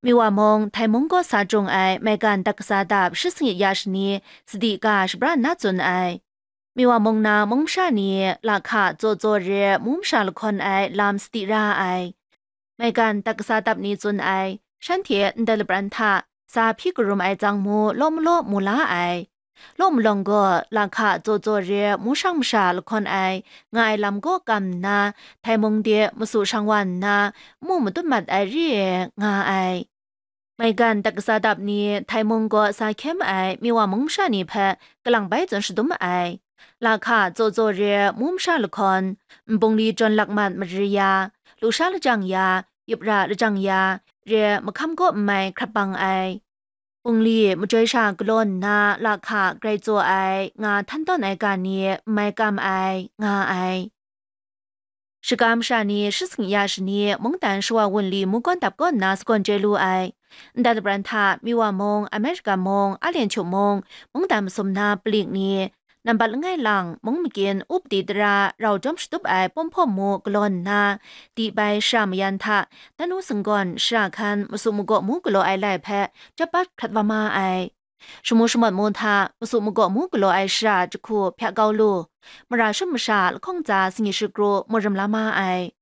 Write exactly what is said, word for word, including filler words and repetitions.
Miwa mung, Htai mung kaw sa jung ai maigan dat kasa dap shi sanit ya shani sadi ga shabran na tsun ai. Miwa mung na mung masha ni lahka tsaw tsaw re mu masha lahkawn ai lam sadi ra ai. Maigan dat kasa dap ni tsun ai, shanhte ndai lapran hta sa hpyi karum ai tsang mu law malaw mu la ai. Law malawng gaw lahka tsaw tsaw re mu shang masha lahkawn ai nga ai lam kaw kam nna, Htai mung de masu shang wa nna, mu matut mat ai re nga ai. Maigan dat kasa dap ni Htai mung gaw sa hkye ma ai Miwa mung masha ni hpe kalang bai tsun shadum ma ai. Lahka tsaw tsaw re mu masha lahkawn, nbungli jawn lak mat mari ya, lusha lajang ya, yup ra lajang ya, re mahkam kaw n mai hkrap bang ai. Bungli majoi sha galaw nna lahka grai tsaw ai nga htan tawn ai ga ni n mai kam ai, nga ai. Shaga masha ni shi sanit ya shani mungdan shawa wunli mu gawn dap kaw nna sagawn chye lu ai. Ndai lapran hta Miwa mung, Amerika mung, Alyen Hkyu mung, mungdan masum na palik ni, nambat langai lang mung magin upadi tara rau jawm shatup ai pawm hpawm mu galaw nna, di bai shara mayan hta, tanu singgawn shara hkan masu magaw mu galaw ai lai hpe chyap bat hkrat wa ma ai. Shamu shamawt mu hta masu magaw mu galaw ai shara jahku hpyak kau lu, mara shum masha lahkawng tsa sanit shikru mu ram la ma ai.